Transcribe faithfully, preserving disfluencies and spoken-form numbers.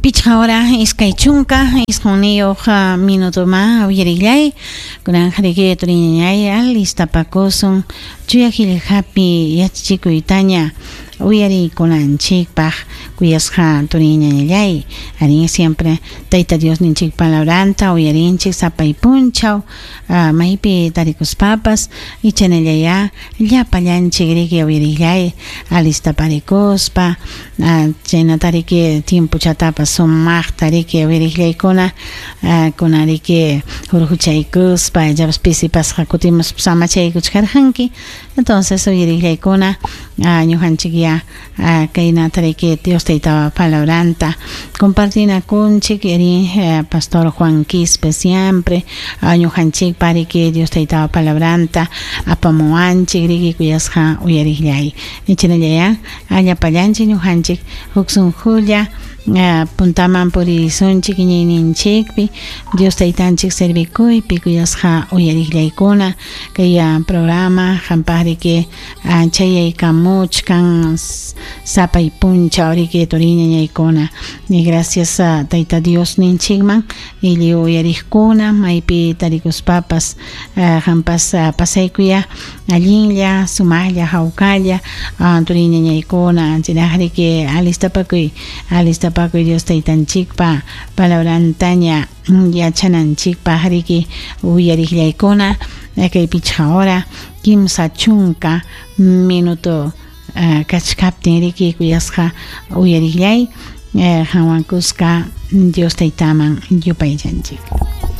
Pichqa hora iskay chunka isqunniyuq minutuma uyarillay kunanqa riki turiñañay alistapakusun chuya qillqapi yachachikuytaña uyariykunanchikpaq kuyasqa turiñañallay arí siempre Tayta Dios ninchik palabranta uyarinchik sapay punchaw maypi tarikuspapas ichanallayá llapallanchik riki uyarillay alistaparikuspa chaynata riki tiempochatapas sumaqta riki uyarillaykuna kuna riki hurquchaykuspa llapas pisipasqa kutimuspa samachaykuchkarqanki entonces uyarillaykuna ñuqanchik ya kaynata riki Dios Tayta palabranta compartinakunchik eri Pastor Juan Quispe siempre ñuqanchikpa riki Dios Tayta palabranta apamuwanchik riki kuyasqa uyarillay ichanallaya llapallanchik ñuqanchik huk sunqulla puntaman puririsunchik iñiyninchikpi Dios Taytanchik servikuypi kuyasqa uyarillaykuna kay programa qampaq riki chayaykamuchkan sapay punchaw riki turiñañaykuna y gracias a Tayta Dios ninchikman lliw uyariqkuna maypi tarikuspapas qampas pasaykuya allinlla sumaqlla hawkalla turiñañaykuna chayraq riki alistapakuy alistapakuy Dios Taytanchikpa palabrantaña yachananchikpaq riki uyariqllaykuna kay pichqa hora kimsa chunka minuto kachkaptin riki kuyasqa uyariqllay qanwan kuska Dios Taytaman yupaychanchik.